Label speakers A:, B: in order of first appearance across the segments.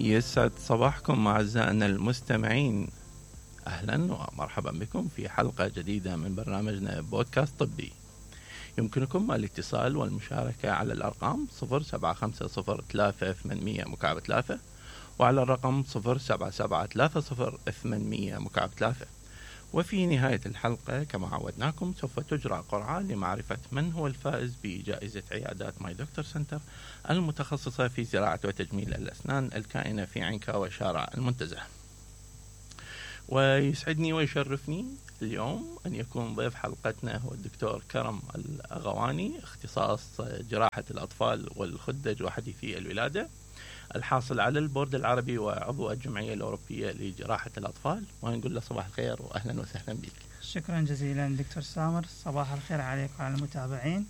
A: يسعد صباحكم أعزائنا المستمعين، أهلا ومرحبا بكم في حلقة جديدة من برنامجنا بودكاست طبي. يمكنكم الاتصال والمشاركة على الأرقام 07503800 وعلى الرقم 07730800. وفي نهاية الحلقة كما عودناكم سوف تجرى قرعة لمعرفة من هو الفائز بجائزة عيادات ماي دكتور سنتر المتخصصة في زراعة وتجميل الأسنان الكائنة في عنكا وشارع المنتزه. ويسعدني ويشرفني اليوم أن يكون ضيف حلقتنا هو الدكتور كرم الأغواني، اختصاص جراحة الأطفال والخدج وحديثي الولادة، الحاصل على البورد العربي وعضو الجمعية الأوروبية لجراحة الأطفال. ونقول له صباح الخير وأهلا وسهلا بك.
B: شكرا جزيلا دكتور سامر، صباح الخير عليك وعلى المتابعين،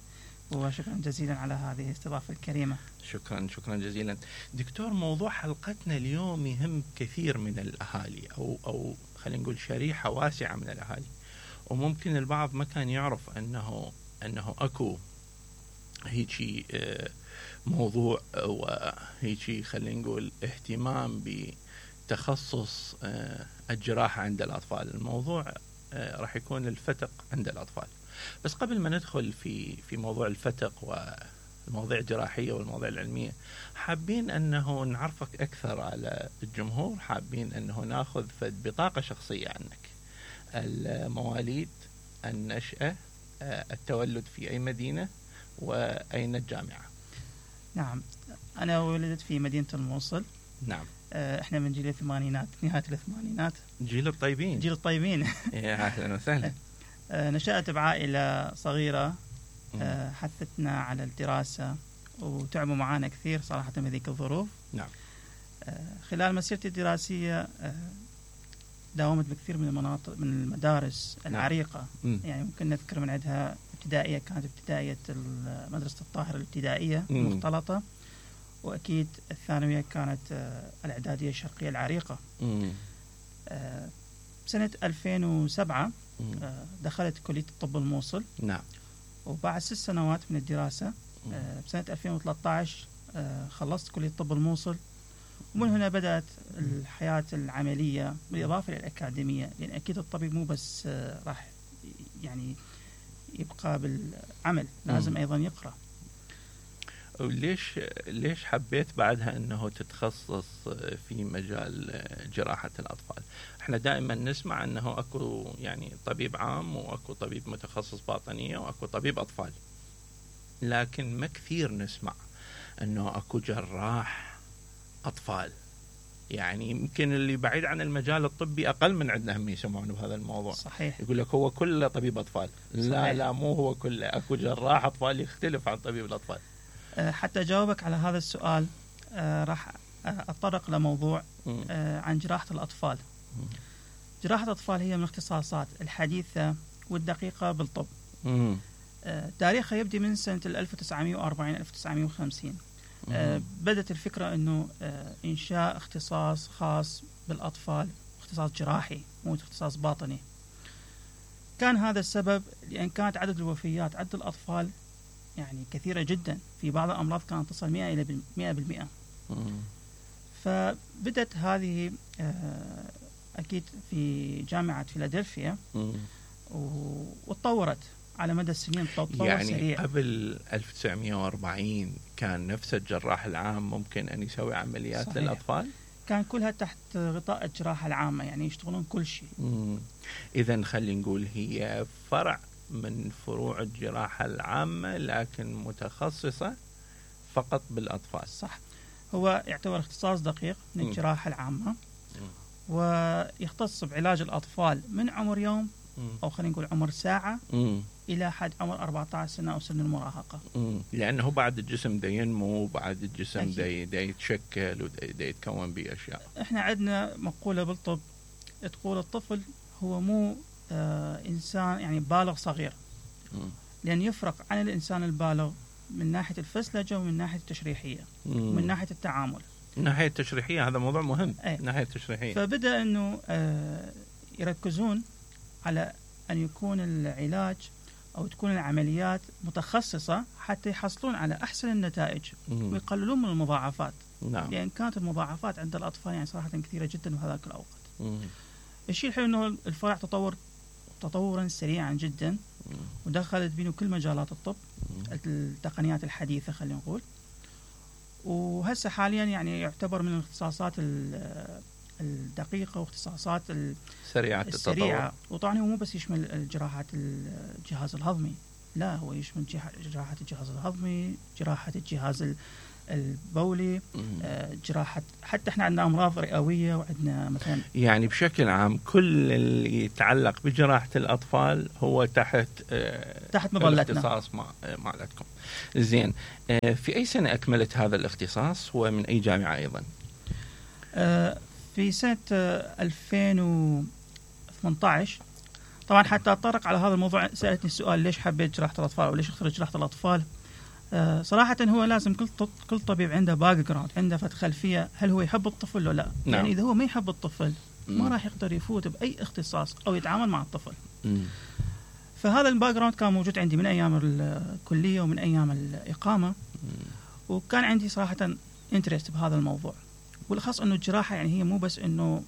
B: وشكرا جزيلا على هذه الاستضافة الكريمة.
A: شكرا جزيلا دكتور. موضوع حلقتنا اليوم يهم كثير من الأهالي أو خلينا نقول شريحة واسعة من الأهالي، وممكن البعض ما كان يعرف أنه أكو هيجي موضوع وهيجي خلينا نقول اهتمام بتخصص الجراحة عند الأطفال. الموضوع راح يكون الفتق عند الأطفال. بس قبل ما ندخل في موضوع الفتق والمواضيع الجراحية والمواضيع العلمية، حابين أنه نعرفك أكثر على الجمهور، حابين أنه ناخذ بطاقة شخصية عنك، المواليد، النشأة، التولد في أي مدينة، وأين الجامعة؟
B: نعم، أنا ولدت في مدينة الموصل.
A: نعم.
B: إحنا من جيل الثمانينات، نهاية الثمانينات.
A: جيل الطيبين.
B: جيل الطيبين.
A: يا أهلا وسهلا.
B: نشأت بعائلة صغيرة حثتنا على الدراسة وتعبوا معانا كثير صراحة بهذيك الظروف.
A: نعم.
B: خلال مسيرتي الدراسية داومت بكثير من المناطق من المدارس العريقة. يعني ممكن نذكر من عندها ابتدائية، كانت ابتدائية مدرسة الطاهر الابتدائية المختلطة، وأكيد الثانوية كانت الإعدادية الشرقية العريقة. سنة 2007 دخلت كلية الطب الموصل.
A: نعم.
B: وبعد 6 سنوات من الدراسة بسنة 2013 خلصت كلية الطب الموصل، ومن هنا بدأت الحياة العملية بالإضافة للأكاديمية، لأن أكيد الطبيب مو بس راح يعني يبقى بالعمل، لازم أيضا يقرأ.
A: ليش حبيت بعدها أنه تتخصص في مجال جراحة الأطفال؟ احنا دائما نسمع أنه أكو يعني طبيب عام وأكو طبيب متخصص باطنية وأكو طبيب أطفال، لكن ما كثير نسمع أنه أكو جراح أطفال. يعني يمكن اللي بعيد عن المجال الطبي أقل من عندنا هم يسمعون بهذا الموضوع.
B: صحيح.
A: يقول لك هو كله طبيب أطفال.
B: صحيح.
A: لا مو هو كله، أكو جراح أطفال يختلف عن طبيب الأطفال.
B: حتى أجاوبك على هذا السؤال راح أتطرق لموضوع عن جراحة الأطفال. جراحة الأطفال هي من الاختصاصات الحديثة والدقيقة بالطب. تاريخها يبدأ من سنة 1940-1950. بدأت الفكرة أنه إنشاء اختصاص خاص بالأطفال، اختصاص جراحي مو اختصاص باطني. كان هذا السبب لأن كانت عدد الوفيات عدد الأطفال يعني كثيرة جدا، في بعض الأمراض كانت تصل 100%. فبدأت هذه أكيد في جامعة فيلادلفيا وتطورت على مدى السنين. تطور
A: يعني
B: سريع.
A: قبل 1940 كان نفس الجراح العام ممكن أن يسوي عمليات
B: صحيح.
A: للأطفال؟
B: كان كلها تحت غطاء الجراحة العامة، يعني يشتغلون كل شيء.
A: إذن خلينا نقول هي فرع من فروع الجراحة العامة لكن متخصصة فقط بالأطفال.
B: صح، هو يعتبر اختصاص دقيق من الجراحة العامة، ويختص بعلاج الأطفال من عمر يوم أو خلينا نقول عمر ساعة إلى حد عمر 14 سنة أو سن المراهقة.
A: لأنه بعد الجسم دا ينمو، وبعد الجسم دا يتشكل ودا يتكون بأشياء.
B: إحنا عندنا مقولة بالطب تقول الطفل هو مو إنسان يعني بالغ صغير، لأن يفرق عن الإنسان البالغ من ناحية الفسلجة ومن ناحية التشريحية ومن ناحية التعامل.
A: ناحية التشريحية هذا موضوع مهم. ناحية التشريحية
B: فبدأ أنه يركزون على أن يكون العلاج أو تكون العمليات متخصصة حتى يحصلون على أحسن النتائج ويقللون من المضاعفات.
A: نعم.
B: لأن كانت المضاعفات عند الأطفال يعني صراحة كثيرة جدا بهذاك الأوقات. الشيء الحلو أنه الفرع تطورا سريعا جدا، ودخلت بينه كل مجالات الطب، التقنيات الحديثة خلينا نقول، وهسه حاليا يعني يعتبر من الاختصاصات الدقيقة واختصاصات السريعة. وطبعا هو مو بس يشمل جراحات الجهاز الهضمي، لا هو يشمل جراحة الجهاز الهضمي، جراحة الجهاز البولي، جراحة، حتى احنا عندنا أمراض رئوية، وعندنا مثلا
A: يعني بشكل عام كل اللي يتعلق بجراحة الأطفال هو تحت
B: مظلتنا،
A: الاختصاص مالتكم. زين، في أي سنة أكملت هذا الاختصاص ومن أي جامعة أيضا؟
B: في سنة 2018. طبعا حتى أطرق على هذا الموضوع سألتني السؤال ليش حبيت جراحة الأطفال أو ليش اخترت جراحة الأطفال. صراحة هو لازم كل طبيب عنده باك جراوند، عنده خلفية، هل هو يحب الطفل ولا لا.
A: نعم.
B: يعني إذا هو ما يحب الطفل ما راح يقدر يفوت بأي اختصاص أو يتعامل مع الطفل. فهذا الباك جراوند كان موجود عندي من أيام الكلية ومن أيام الإقامة، وكان عندي صراحة انترست بهذا الموضوع. والخاص أنه الجراحة يعني هي مو بس أنه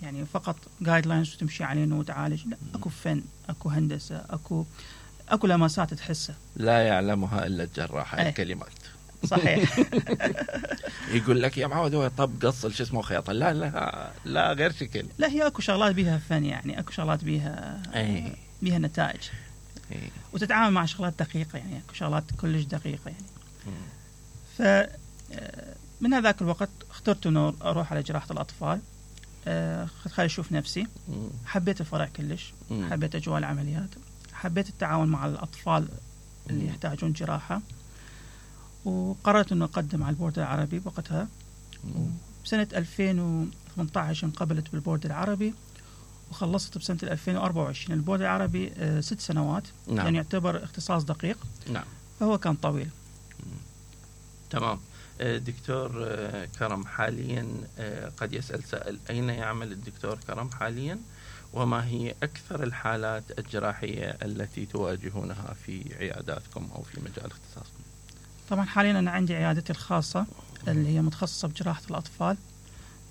B: يعني فقط جايد لاينز وتمشي عليه انه تعالج، لا، اكو فن، اكو هندسه، اكو لمسات تحسها
A: لا يعلمها الا الجراح. الكلمات
B: صحيح.
A: يقول لك يا معود هو طب قص شو اسمه خياطه، لا لا لا، غير شكل.
B: لا، هي اكو شغلات بيها فن، يعني اكو شغلات بيها بيها نتائج، وتتعامل مع شغلات دقيقه، يعني اكو شغلات كلش دقيقه يعني. ف من هذاك الوقت اخترت انه اروح على جراحه الاطفال. خلي أشوف نفسي. حبيت الفرع كلش، حبيت أجواء العمليات، حبيت التعاون مع الأطفال اللي يحتاجون جراحة، وقررت أنه أقدم على البورد العربي بوقتها. بسنة 2018 انقبلت بالبورد العربي، وخلصت بسنة 2024. البورد العربي 6 سنوات.
A: نعم.
B: يعني يعتبر اختصاص دقيق.
A: نعم.
B: فهو كان طويل.
A: تمام. دكتور كرم، حاليا قد يسأل سائل أين يعمل الدكتور كرم حاليا، وما هي أكثر الحالات الجراحية التي تواجهونها في عياداتكم أو في مجال اختصاصكم؟
B: طبعا حاليا أنا عندي عيادتي الخاصة اللي هي متخصصة بجراحة الأطفال،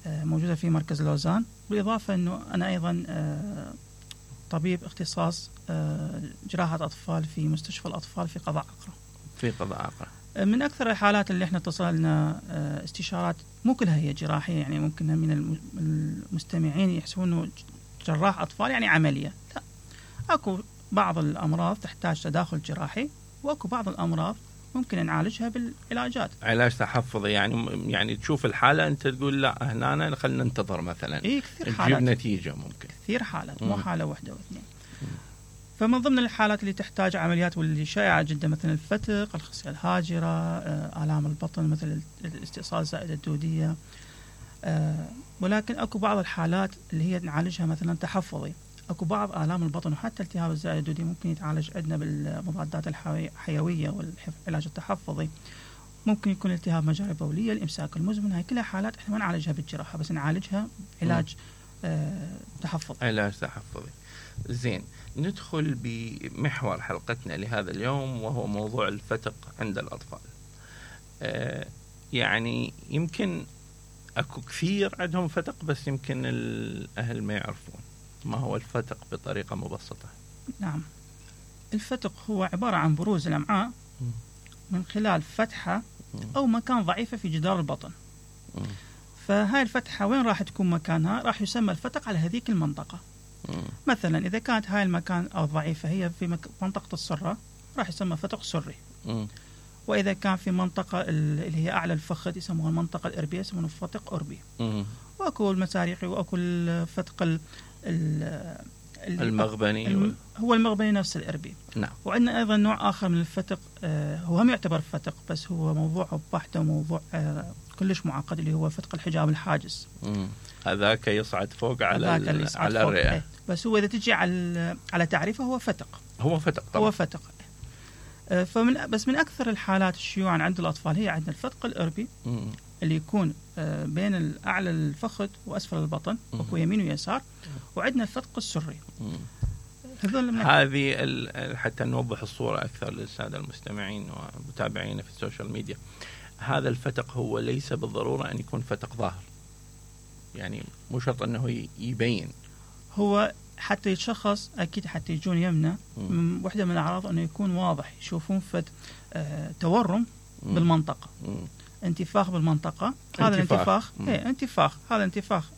B: موجودة في مركز لوزان. بالإضافة أنه أنا أيضا طبيب اختصاص جراحة أطفال في مستشفى الأطفال في قضاء عقرة.
A: في قضاء عقرة.
B: من أكثر الحالات اللي احنا اتصلنا استشارات، مو كلها هي جراحية، يعني ممكن من المستمعين يحسبون أنه جراح أطفال يعني عملية. لا، أكو بعض الأمراض تحتاج تداخل جراحي، وأكو بعض الأمراض ممكن نعالجها بالعلاجات.
A: علاج تحفظي، يعني تشوف الحالة أنت تقول لا هنا خلينا ننتظر مثلا.
B: كثير حالات
A: تجيب نتيجة، ممكن
B: كثير حالات، مو حالة واحدة واثنين. فمن ضمن الحالات اللي تحتاج عمليات واللي شائعة جدا مثل الفتق، الخصية الهاجرة، آلام البطن مثل الاستئصال زائد الدودية. ولكن أكو بعض الحالات اللي هي نعالجها مثلا تحفظي. أكو بعض آلام البطن وحتى التهاب الزائد الدودي ممكن يتعالج عندنا بالمضادات الحيوية والعلاج التحفظي. ممكن يكون التهاب مجاري بولية، الإمساك المزمن، هاي كلها حالات احنا ما نعالجها بالجراحة، بس نعالجها علاج تحفظي.
A: علاج تحفظي. زين، ندخل بمحور حلقتنا لهذا اليوم، وهو موضوع الفتق عند الأطفال. يعني يمكن أكو كثير عندهم فتق، بس يمكن الأهل ما يعرفون ما هو الفتق بطريقة مبسطة.
B: نعم، الفتق هو عبارة عن بروز الأمعاء من خلال فتحة أو مكان ضعيفة في جدار البطن. فهاي الفتحة وين راح تكون مكانها؟ راح يسمى الفتق على هذيك المنطقة. مثلا إذا كانت هاي المكان أو ضعيفة هي في منطقة السرة، راح يسمى فتق سري. وإذا كان في منطقة اللي هي أعلى الفخذ يسموها المنطقة الإربية، يسمونه فتق أربي. وأكو المساريقي، وأكو الفتق
A: المغبني
B: هو المغبني نفس الإربي.
A: نعم.
B: وعندنا أيضا نوع آخر من الفتق، هو هم يعتبر فتق بس هو موضوع بحت وموضوع كلش معقد، اللي هو فتق الحجاب الحاجز.
A: هذاك يصعد فوق على الرئة.
B: بس هو إذا تجي على تعريفه هو فتق.
A: هو فتق طبعا.
B: هو فتق. بس من أكثر الحالات الشيوعا عند الأطفال هي عندنا الفتق الإربي اللي يكون بين أعلى الفخذ وأسفل البطن، وكو يمين ويسار. وعندنا الفتق السري.
A: هذه حتى نوضح الصورة أكثر للسادة المستمعين ومتابعين في السوشيال ميديا. هذا الفتق هو ليس بالضرورة أن يكون فتق ظاهر، يعني مو شرط أنه يبين.
B: هو حتى يتشخص أكيد حتى يجون يمنا واحدة من الأعراض أنه يكون واضح، يشوفون تورم بالمنطقة، انتفاخ بالمنطقة. هذا الانتفاخ انتفاخ، هذا الانتفاخ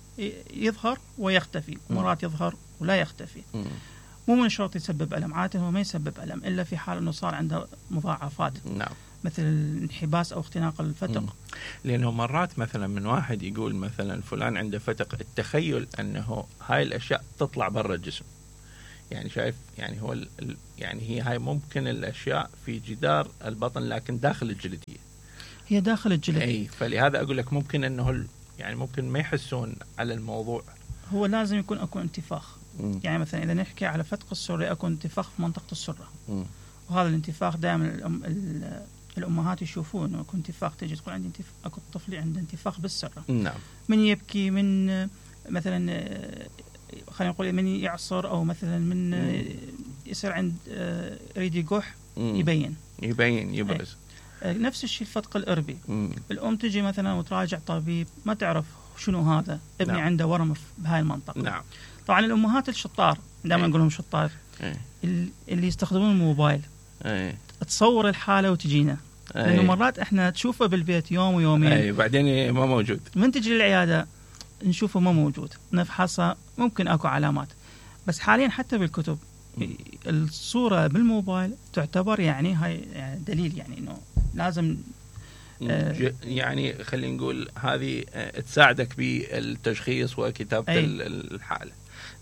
B: يظهر ويختفي، مرات يظهر ولا يختفي. مو من الشرط يسبب ألم، عادة هو ما يسبب ألم إلا في حال أنه صار عنده مضاعفات.
A: نعم.
B: مثل الانحباس أو اختناق الفتق.
A: لأنه مرات مثلا من واحد يقول مثلا فلان عنده فتق، التخيل أنه هاي الأشياء تطلع برا الجسم، يعني شايف، يعني هو يعني هي هاي ممكن الأشياء في جدار البطن لكن داخل الجلدية،
B: هي داخل الجلد.
A: أي، فلهذا أقول لك ممكن أنه يعني ممكن ما يحسون على الموضوع.
B: هو لازم يكون أكو انتفاخ. يعني مثلا إذا نحكي على فتق السرة، أكو انتفاخ في منطقة السرة. وهذا الانتفاخ دائما الأمهات يشوفون أكو انتفاخ، تجي تقول عندي أكو الطفل عنده انتفاخ بالسرة.
A: نعم.
B: من يبكي، من مثلا خلينا نقول من يعصر، أو مثلا من يصير عند يريد يقح، يبين يبرز. نفس الشيء الفتق الإربي. الأم تجي مثلا وتراجع طبيب ما تعرف شنو هذا، ابني نعم. عنده ورم بهاي المنطقة.
A: نعم.
B: طبعا الأمهات الشطار دائما نقول لهم شطار، اللي يستخدمون الموبايل، تصور الحالة وتجينا، لأنه مرات احنا تشوفه بالبيت يوم ويومين،
A: بعدين ما موجود،
B: من تجي للعيادة نشوفه ما موجود، نفحصه ممكن اكو علامات. بس حاليا حتى بالكتب الصورة بالموبايل تعتبر يعني هاي يعني دليل، يعني انه لازم
A: يعني خلينا نقول هذه تساعدك بالتشخيص وكتابة الحالة.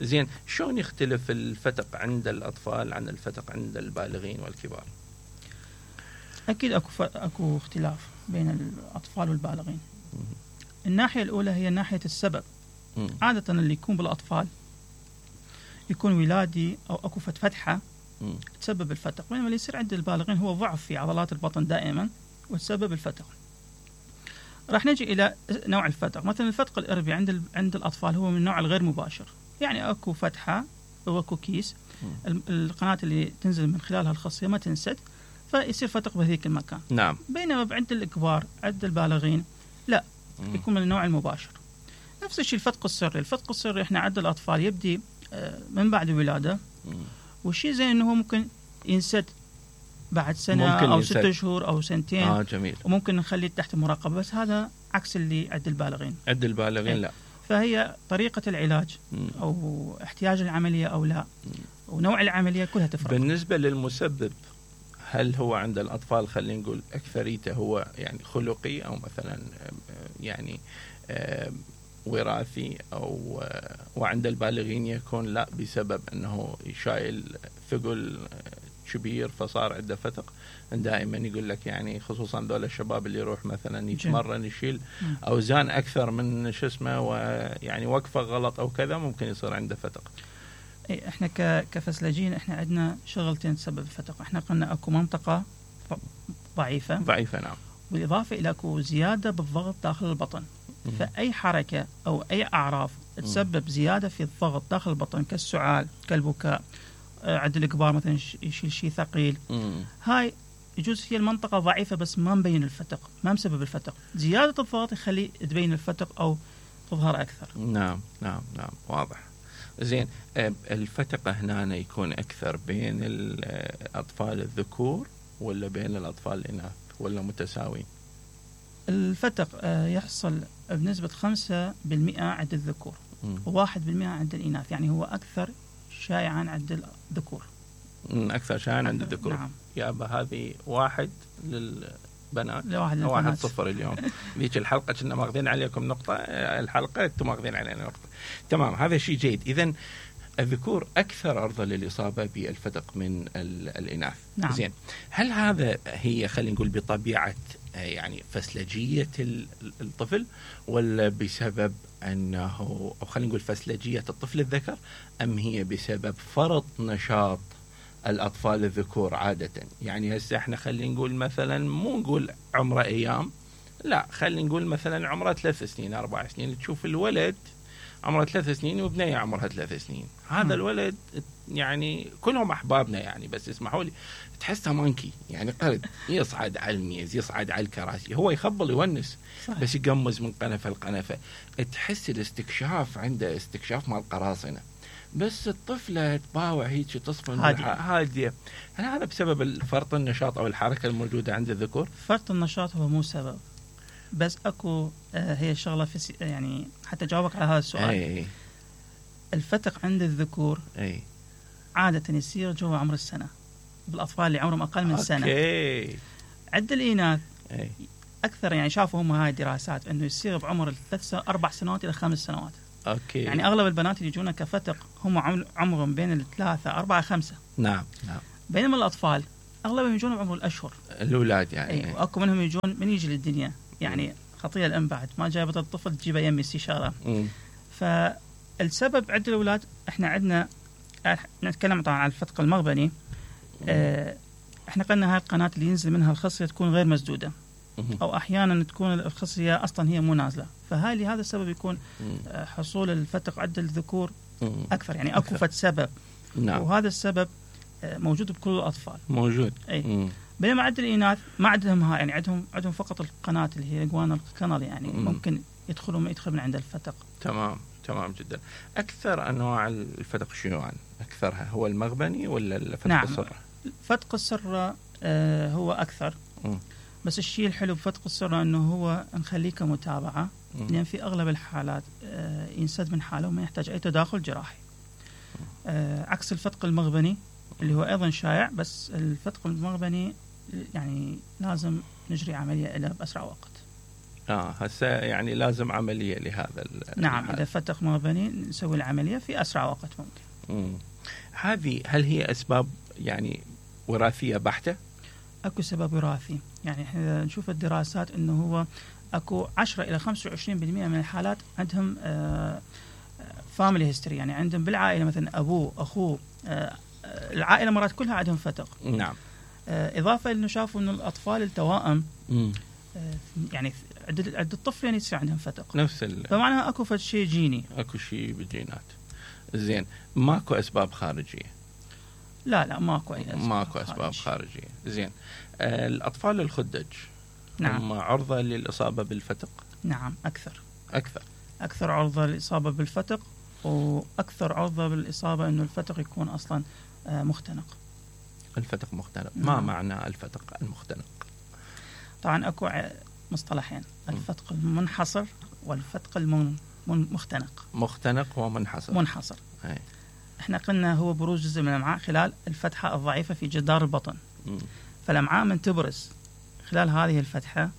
A: زين، شلون يختلف الفتق عند الأطفال عن الفتق عند البالغين والكبار؟
B: أكيد أكو اختلاف بين الأطفال والبالغين. الناحية الأولى هي ناحية السبب. عادة اللي يكون بالأطفال يكون ولادي أو أكو فتحة تسبب الفتق، بينما اللي يصير عند البالغين هو ضعف في عضلات البطن دائما وتسبب الفتق. راح نجي إلى نوع الفتق. مثلا الفتق الإربي عند الأطفال هو من النوع الغير مباشر، يعني أكو فتحة أو أكو كيس، القناة اللي تنزل من خلالها الخصية ما تنسد، فيصير فتق بهذيك المكان.
A: نعم.
B: بينما عند الكبار عند البالغين لا، يكون من النوع المباشر. نفس الشيء الفتق السري. الفتق السري احنا عند الأطفال يبدي من بعد الولادة، والشيء زي انه ممكن ينسد بعد سنة أو 6 شهور أو سنتين.
A: جميل.
B: وممكن نخليه تحت مراقبة، بس هذا عكس اللي عند البالغين.
A: عند البالغين لا.
B: فهي طريقة العلاج أو احتياج العملية أو لا، ونوع العملية كلها تفرق.
A: بالنسبة للمسبب، هل هو عند الأطفال خلينا نقول أكثريته هو يعني خلقي، أو مثلا يعني وراثي، أو وعند البالغين يكون لا بسبب أنه يشايل ثقل كبير فصار عنده فتق؟ دائما يقول لك يعني خصوصا دول الشباب اللي يروح مثلا يتمرن يشيل أوزان أكثر من شو اسمه، ويعني وقفة غلط أو كذا ممكن يصير عنده فتق.
B: احنا كفسلجين احنا عندنا شغلتين تسبب الفتق. احنا قلنا اكو منطقة ضعيفة
A: نعم،
B: بالإضافة إلى اكو زيادة بالضغط داخل البطن. فأي حركة أو أي أعراض تسبب زيادة في الضغط داخل البطن كالسعال كالبكاء، عند الكبار مثلا يشيل شيء ثقيل، هاي يجوز هي المنطقة ضعيفة بس ما مبين الفتق، ما مسبب الفتق. زيادة الضغط يخلي تبين الفتق أو تظهر أكثر.
A: نعم واضح. زين، الفتق هنا يكون أكثر بين الأطفال الذكور ولا بين الأطفال الإناث ولا متساوي؟
B: الفتق يحصل بنسبة 5% عند الذكور و1% عند الإناث، يعني هو أكثر شائعا عند الذكور.
A: أكثر شائعا عند الذكور.
B: نعم.
A: يابا هذه 1 للبنات،
B: 1
A: صفر اليوم. ذيك الحلقة كنا ماخذين عليكم نقطة، الحلقة انتم ماخذين علينا نقطة. تمام، هذا شيء جيد. إذن الذكور أكثر عرضة للإصابة بالفتق من الإناث.
B: نعم.
A: زين، هل هذا هي خلينا نقول بطبيعة يعني فسلجية الطفل، ولا بسبب أنه أو خلينا نقول فسلجية الطفل الذكر، أم هي بسبب فرط نشاط الأطفال الذكور عادة؟ يعني هسه احنا خلينا نقول مثلا مو نقول عمره أيام، لا خلينا نقول مثلا عمره 3 سنين 4 سنين، تشوف الولد عمره 3 سنين وبنية عمرها 3 سنين. هذا الولد يعني كلهم أحبابنا يعني، بس اسمحوا لي تحسها مانكي يعني قرد يصعد على الميز يصعد على الكراسي، هو يخبل يونس صحيح. بس يقمز من قنفة لقنفة، تحس الاستكشاف عنده استكشاف مال قراصنة. بس الطفلة تباوع هيك تصفن هادية. هل هذا بسبب فرط النشاط أو الحركة الموجودة عند الذكور؟
B: فرط النشاط هو مو سبب، بس أكو هي شغلة يعني حتى أجاوبك على هذا السؤال. الفتق عند الذكور عادة يصير جوا عمر السنة بالأطفال اللي عمرهم أقل من سنة. عند الإناث أكثر، يعني شافوا هم هاي الدراسات أنه يصير بعمر 4 سنوات إلى 5 سنوات. يعني أغلب البنات اللي يجونا كفتق هم عمرهم بين 3 4 5.
A: نعم.
B: بينما الأطفال أغلبهم يجون بعمر الأشهر
A: الأولاد يعني.
B: وأكو منهم يجون من يجي للدنيا يعني خطية الأم بعد ما جابت الطفل تجيبه يمي استشارة. فالسبب عند الأولاد إحنا عندنا نتكلم طبعا عن الفتق المغبني. إحنا قلنا هاي القناة اللي ينزل منها الخصية تكون غير مسدودة، أو أحيانا تكون الخصية أصلا هي مو نازلة، فهاي لهذا السبب يكون حصول الفتق عند الذكور أكثر. يعني أكو فت سبب.
A: نعم.
B: وهذا السبب موجود بكل الأطفال
A: موجود.
B: بينما عند الإناث ما عندهم هاي، يعني عندهم فقط القناة اللي هي جوانا الكنال، يعني ممكن يدخل من عند الفتق.
A: تمام جدا. أكثر أنواع الفتق شنو أكثرها هو المغبني ولا الفتق
B: نعم.
A: السرة؟
B: فتق السرة هو أكثر. بس الشيء الحلو بفتق السرة أنه هو نخليه كمتابعة، لأن في أغلب الحالات ينسد من حاله وما يحتاج أي تداخل جراحي، عكس الفتق المغبني اللي هو أيضا شائع. بس الفتق المغبني يعني لازم نجري عملية له بأسرع وقت.
A: هسه يعني لازم عملية لهذا.
B: نعم. إذا فتق مغبني نسوي العملية في أسرع وقت ممكن.
A: هذه هل هي أسباب يعني وراثية بحتة؟
B: أكو سبب وراثي. يعني إحنا نشوف الدراسات إنه هو أكو 10 إلى 25% من الحالات عندهم فاميلي هيستوري، يعني عندهم بالعائلة مثلا أبوه أخوه العائلة مرات كلها عندهم فتق.
A: نعم.
B: إضافة إنه شافوا إنه الأطفال التوائم يعني عند الطفل يعني يصير عندهم فتق
A: نفس
B: فمعناها أكو شيء جيني،
A: أكو شيء بالجينات. زين، ماكو أسباب خارجية؟
B: لا ماكو
A: أسباب خارجية. زين، الأطفال الخدج
B: نعم.
A: هم عرضة للإصابة بالفتق؟
B: نعم، أكثر عرضة للإصابة بالفتق، وأكثر عرضة بالإصابة إنه الفتق يكون أصلا مختنق.
A: الفتق مختنق. ما معنى الفتق المختنق؟
B: طبعا أكو مصطلحين، الفتق المنحصر والفتق المختنق.
A: مختنق ومنحصر.
B: احنا قلنا هو بروز جزء من الأمعاء خلال الفتحة الضعيفة في جدار البطن. فالأمعاء من تبرز خلال هذه الفتحة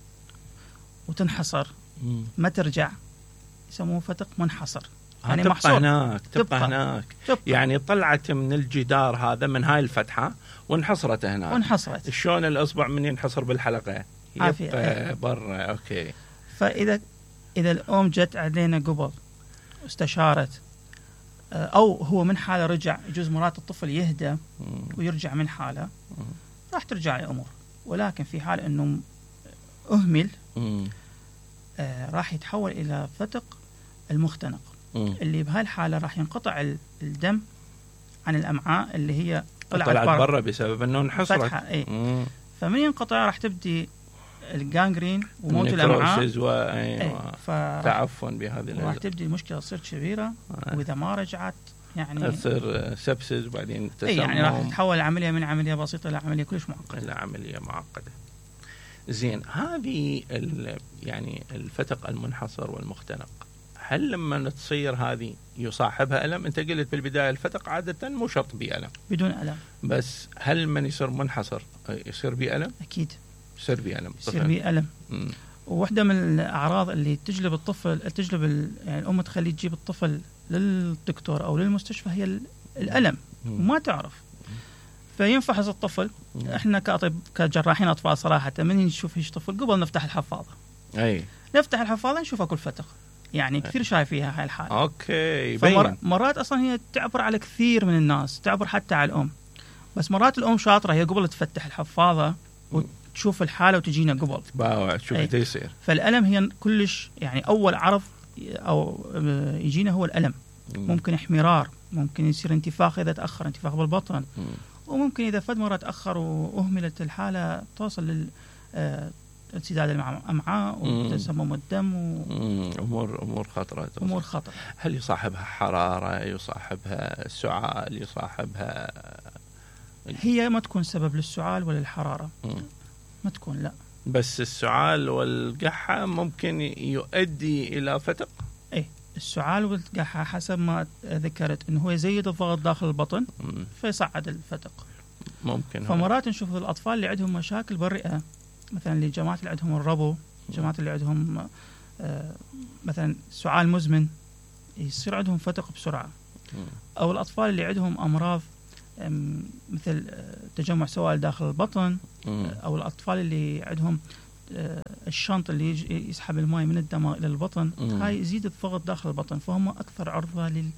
B: وتنحصر ما ترجع، يسموه فتق منحصر.
A: يعني تبقى هناك. يعني طلعت من الجدار هذا من هاي الفتحة وانحصرت هناك. شلون الأصبع من ينحصر بالحلقة يبقى برا. أوكي.
B: فإذا الأم جت علينا قبل واستشارت، أو هو من حالة رجع، يجوز مرات الطفل يهدى ويرجع من حالة، راح ترجع الأمور. ولكن في حال أنه أهمل راح يتحول إلى فتق المختنق، اللي بهاي الحالة راح ينقطع الدم عن الأمعاء اللي هي طلعت
A: برا بسبب أنه انحصرت.
B: فمن ينقطع راح تبدي الجانجرين وموت الأمعاء
A: تعفن بهذه
B: راح تبدي المشكلة تصير كبيرة. وإذا ما رجعت يعني
A: تصير سبسس وبعدين تسمم.
B: يعني راح تتحول العملية من عملية بسيطة إلى عملية كلش معقدة.
A: إلى عملية معقدة. زين، هذه يعني الفتق المنحصر والمختنق، هل لما تصير هذه يصاحبها ألم؟ أنت قلت بالبداية الفتق عادة مو شرط بألم،
B: بدون ألم.
A: بس هل من يصير منحصر يصير بألم؟
B: أكيد
A: يصير بألم.
B: وواحدة من الأعراض اللي تجلب الطفل يعني الأم تخليه تجيب الطفل للدكتور أو للمستشفى هي الألم، وما تعرف. فينفحص الطفل. إحنا كجراحين أطفال صراحة من نشوف هيش طفل قبل نفتح الحفاضة. نفتح الحفاضة نشوف أكل فتق، يعني كثير شايف فيها هاي الحالة.
A: أوكي.
B: مرات أصلا هي تعبر على كثير من الناس، تعبر حتى على الأم. بس مرات الأم شاطرة، هي قبل تفتح الحفاضة وتشوف الحالة وتجينا قبل
A: تشوف ايش يصير.
B: فالألم هي كلش يعني أول عرض أو يجينا هو الألم. ممكن احمرار، ممكن يصير انتفاخ إذا تأخر، انتفاخ بالبطن، وممكن إذا فد مرة تأخر وأهملت الحالة توصل انسداد الأمعاء وتسمم الدم
A: أمور خطرة.
B: أمور خطرة.
A: هل يصاحبها حرارة، يصاحبها سعال، يصاحبها؟
B: هي ما تكون سبب للسعال ولا الحرارة، ما تكون، لا.
A: بس السعال والقحة ممكن يؤدي إلى فتق؟
B: إيه، السعال والقحة حسب ما ذكرت إنه هو يزيد الضغط داخل البطن فيصعد الفتق.
A: ممكن.
B: فمرات نشوف الأطفال اللي عندهم مشاكل بالرئة، مثلا الجماعات اللي عندهم الربو، الجماعات اللي عندهم مثلا سعال مزمن، يصير عندهم فتق بسرعة. أو الأطفال اللي عندهم أمراض مثل تجمع سوائل داخل البطن، أو الأطفال اللي عندهم الشنط اللي يسحب الماء من الدماغ إلى البطن، هاي يزيد الضغط داخل البطن، فهم أكثر عرضة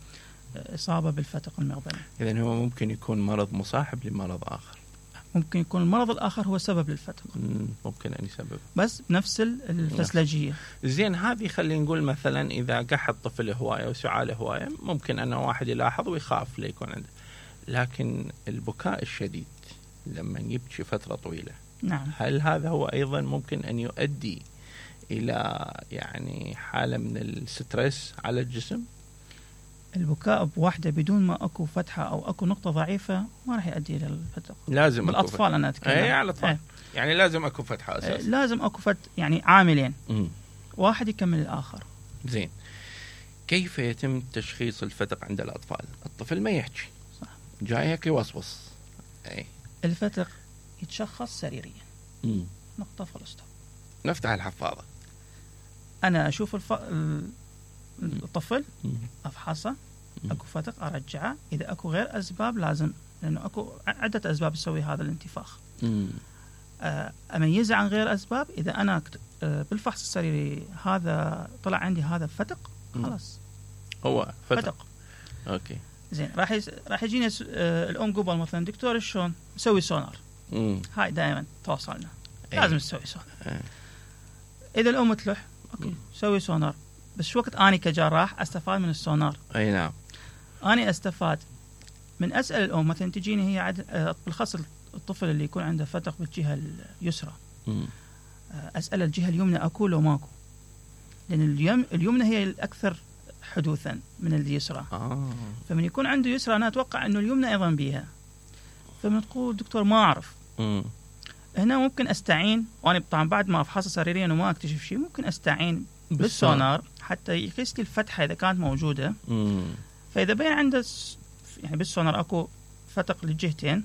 B: للإصابة بالفتق المعدني.
A: إذن هو ممكن يكون مرض مصاحب لمرض آخر.
B: ممكن يكون المرض الآخر هو سبب للفتق.
A: ممكن أن يسبب،
B: بس بنفس الفسلجية.
A: زين، هذه خلينا نقول مثلا إذا قح الطفل هواية وسعاله هواية، ممكن أن واحد يلاحظ ويخاف ليكون عنده. لكن البكاء الشديد لما يبكي فترة طويلة،
B: نعم،
A: هل هذا هو أيضا ممكن أن يؤدي إلى يعني حالة من الستريس على الجسم؟
B: البكاء بوحدة بدون ما أكو فتحة أو أكو نقطة ضعيفة ما راح يؤدي إلى الفتق.
A: لازم
B: بالأطفال أنا أتكلم.
A: أي، على الأطفال. يعني لازم أكو فتحة أساس.
B: لازم أكو يعني عاملين، واحد يكمل الآخر.
A: زين، كيف يتم تشخيص الفتق عند الأطفال؟ الطفل ما يحكي،
B: صح،
A: جايك يوصوص. أي،
B: الفتق يتشخص سريريا. نقطة فلسطة.
A: نفتح الحفاظة،
B: أنا أشوف الطفل، أفحصه، أكو فتق أرجعه. إذا أكو غير أسباب لازم، لأنه أكو عدة أسباب تسوي هذا الانتفاخ. أميزه عن غير أسباب. إذا أنا بالفحص السريري هذا طلع عندي هذا فتق، خلاص
A: هو فتق. أوكي،
B: زين. راح يجينا الأم قبل مثلا، دكتور شلون نسوي سونار؟ هاي دائما تواصلنا، لازم نسوي سونار. إذا الأم تلح، أوكي سوي سونار، بس شو وقت أنا كجراح أستفاد من السونار؟
A: أي نعم،
B: أنا أستفاد من أسأل الأم مثلا، تجيني هي بالخاص الطفل اللي يكون عنده فتق بالجهة اليسرى، أسأل الجهة اليمنى أكو لو ماكو، لأن اليمنى هي الأكثر حدوثا من اليسرى. فمن يكون عنده يسرى أنا أتوقع أنه اليمنى أيضا بيها. فمن تقول دكتور ما أعرف، هنا ممكن أستعين، وأنا طبعا بعد ما أفحص سريريا وما أكتشف شيء ممكن أستعين بالسونار حتى يقيس لي الفتحة إذا كانت موجودة. فإذا بين عنده يعني بالسونار أكو فتق للجهتين،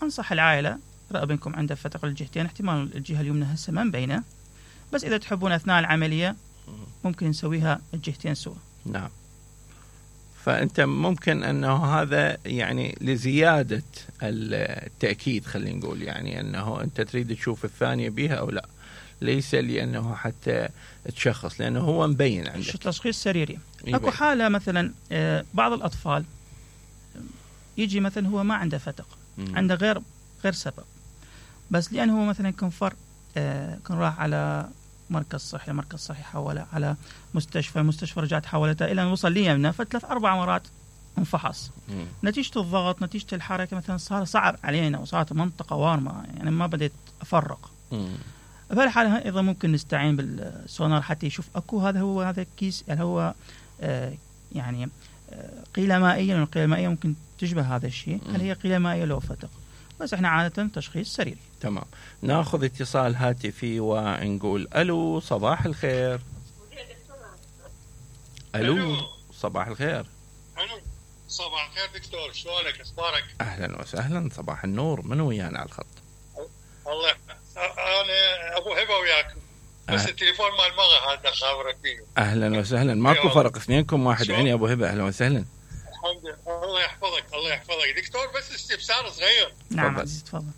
B: أنصح العائلة رأبنكم عنده فتق للجهتين، احتمال الجهة اليمنى هسه ما مبينة، بس إذا تحبون أثناء العملية ممكن نسويها الجهتين سوا.
A: نعم. فأنت ممكن أنه هذا يعني لزيادة التأكيد، خلينا نقول يعني أنه أنت تريد تشوف الثانية بها أو لا، ليس لأنه حتى تشخص، لأنه هو مبين عندك.
B: تشخيص سريري. أكو حالة مثلا بعض الأطفال يجي مثلا هو ما عنده فتق، عنده غير سبب، بس لأنه هو مثلا كان راح على مركز صحي حوله على المستشفى رجعت حولته إلى أن وصل لي منه، ف3-4 مرات انفحص. نتيجة الضغط، نتيجة الحركة مثلا صار صعب علينا، وصارت منطقة وارمة، يعني ما بديت أفرق. فالحالة أيضا ممكن نستعين بالسونار حتى يشوف أكو هذا الكيس، يعني هو يعني قيلة مائية، لأن القيلة المائية ممكن تشبه هذا الشيء، هل هي قيلة مائية لو فتق، بس احنا عادة تشخيص سريري.
A: تمام. ناخذ اتصال هاتفي ونقول الو، صباح الخير. الو، صباح الخير.
C: الو، صباح الخير دكتور، شلونك، اخبارك؟
A: اهلا وسهلا، صباح النور. من ويانا على الخط؟
C: الله، انا ابو هبه وياكم، بس التليفون مال مغا هذا خابرك فيه.
A: اهلا وسهلا، ماكو فرق، اثنينكم واحد عيني. ابو هبه اهلا وسهلا.
C: الحمد لله، الله يحفظك الله يحفظك دكتور. بس استفسار صغير.
B: نعم عزيز تفضل.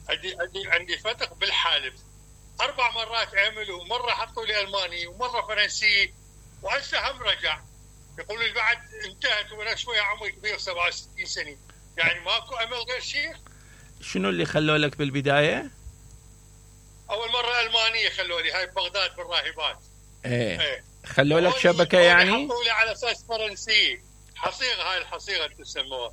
C: عندي فتق بالحالب 4 مرات عملوا، مرة حطوا لي ألماني ومرة فرنسي، وهسه هم رجع. يقولوا لي بعد انتهت وانا شوية عمري كبير 67 سنة، يعني ماكو أمل غير شيء؟
A: شنو اللي خلوا لك بالبداية؟
C: أول مرة ألمانية خلوا لي، هاي ببغداد بالراهبات.
A: ايه خلوا لك شبكه يعني
C: حطوا لي على اساس فرنسي حصيغه، هاي الحصيغه تسموها.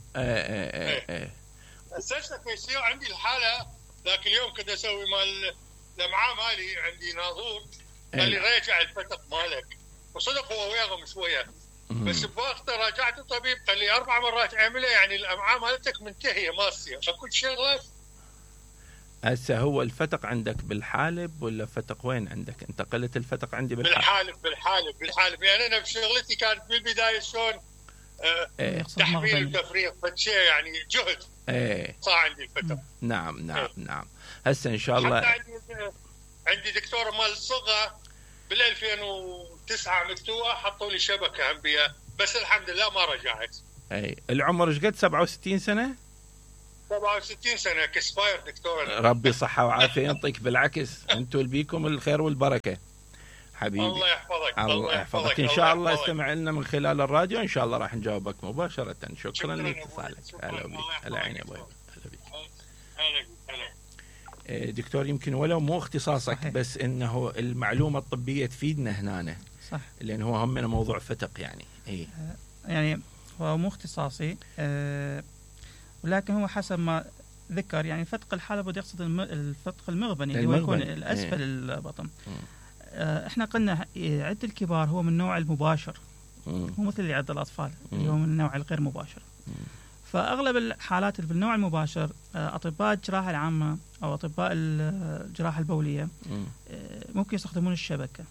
C: اساسا يصير عندي الحاله ذاك اليوم كنت اسوي مال الامعاء مالي، عندي ناظور قال لي راجع الفتق مالك، وصدق هو وياهم شويه بس بوقت راجعت الطبيب قال لي 4 مرات اعمله، يعني الامعاء مالتك منتهيه ما تصير اكو شغله.
A: هسه هو الفتق عندك بالحالب ولا فتق وين عندك؟ انت قلت الفتق عندي بالحالب.
C: يعني انا بشغلتي كانت بالبدايه شلون تحميل وتفريغ فشي، يعني جهد صار عندي الفتق.
A: نعم هسه ان شاء الله.
C: عندي دكتور مال الصغة بال 2009 مفتوحه حطوا لي شبكه هم بيها، بس الحمد لله ما رجعت.
A: العمر ايش قد؟ 67 سنه
C: 67 سنه كسباير دكتور.
A: ربي صحه وعافيه يعطيك، بالعكس انتم اللي بيكم الخير والبركه حبيبي.
C: الله يحفظك.
A: الله يحفظك. ان شاء الله استمع لنا من خلال الراديو، ان شاء الله راح نجاوبك مباشره. شكرا لاتصالك. هلا بك. هلا عيني ابوي. هلا بك. دكتور يمكن ولو مو اختصاصك صحيح. بس انه المعلومه الطبيه تفيدنا هنا
B: صح،
A: لان هو همنا موضوع فتق يعني.
B: يعني هو مو اختصاصي ولكن هو حسب ما ذكر يعني فتق الحالب بده يقصد الفتق المغبني اللي هو يكون الاسفل البطن. احنا قلنا عد الكبار هو من نوع المباشر، مو مثل اللي عد الاطفال اللي هو من النوع الغير مباشر. فاغلب الحالات اللي بالنوع المباشر اطباء الجراحه العامه او اطباء الجراحه البوليه ممكن يستخدمون الشبكه.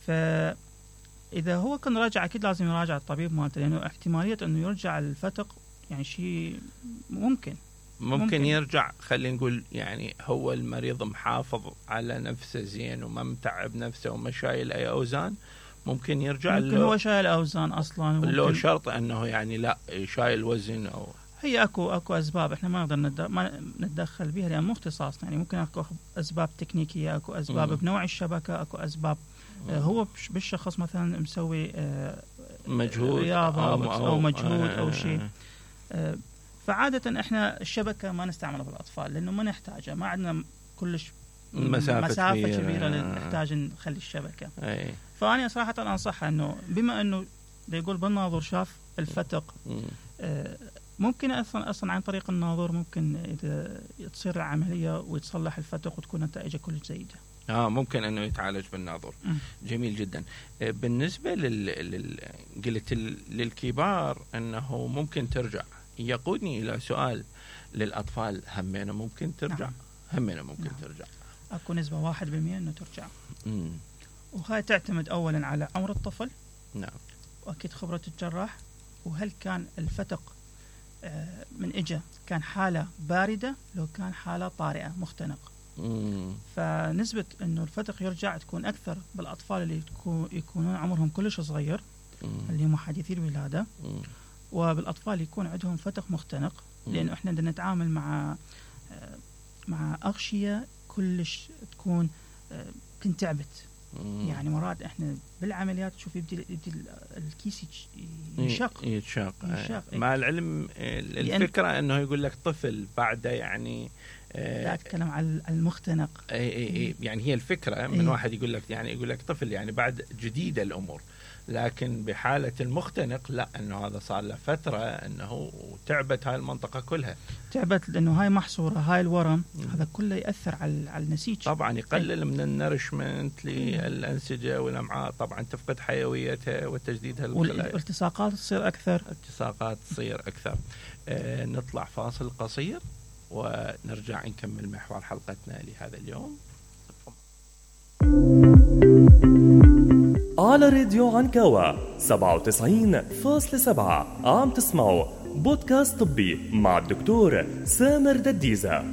B: فاذا هو كان راجع اكيد لازم يراجع الطبيب مالته، لانه احتماليه انه يرجع الفتق يعني شيء ممكن
A: يرجع. خلينا نقول يعني هو المريض محافظ على نفسه زين وما متعب نفسه وما شايل اي اوزان، ممكن يرجع.
B: ممكن هو شايل اوزان اصلا،
A: لو شرط انه يعني لا شايل وزن او
B: هي اكو اسباب احنا ما نقدر ما نتدخل بها لان مو اختصاصنا. يعني ممكن اكو اسباب تكنيكيه، اكو اسباب بنوع الشبكه، اكو اسباب هو بالشخص مثلا مسوي
A: مجهود
B: رياضه أو مجهود او شيء. فعاده احنا الشبكه ما نستعملها بالاطفال لانه ما نحتاجها، ما عندنا كلش مسافه كبيره نحتاج نخلي الشبكه. فأنا صراحة أنصحها أنه بما أنه يقول بالناظور شاف الفتق ممكن أصلا عن طريق الناظور ممكن إذا تصير العملية ويتصلح الفتق وتكون نتائجه كل جيدة.
A: ممكن أنه يتعالج بالناظور. جميل جدا. بالنسبة قلت للكبار أنه ممكن ترجع، يقودني إلى سؤال للأطفال همينه ممكن ترجع؟ همينه ممكن ترجع.
B: أكو نسبة 1% أنه ترجع. وهاي تعتمد أولا على عمر الطفل.
A: نعم.
B: وأكيد خبرة الجراح، وهل كان الفتق من إجا كان حالة باردة لو كان حالة طارئة مختنق. فنسبة إنه الفتق يرجع تكون أكثر بالأطفال اللي يكونون عمرهم كلش صغير اللي هم حديثي الولادة، وبالأطفال اللي يكون عندهم فتق مختنق، لأنه إحنا بدنا نتعامل مع أغشية كلش تكون كنت تعبت. يعني مرات احنا بالعمليات تشوف يبدي الكيس يتشاق.
A: مع العلم الفكره انه يقول لك طفل بعده يعني
B: لا اتكلم عن المختنق.
A: يعني هي الفكره من واحد يقول لك طفل يعني بعد جديده الامور، لكن بحالة المختنق لا، انه هذا صار له فترة انه تعبت هاي المنطقة كلها،
B: تعبت لانه هاي محصورة، هاي الورم هذا كله يأثر على النسيج،
A: طبعا يقلل من النرشمنت للأنسجة والأمعاء، طبعا تفقد حيويتها وتجديدها
B: والالتصاقات تصير أكثر.
A: نطلع فاصل قصير ونرجع نكمل محور حلقتنا لهذا اليوم.
D: على راديو عنكاوة 97.7 عم تسمعوا بودكاست طبي مع الدكتور سامر دديزة.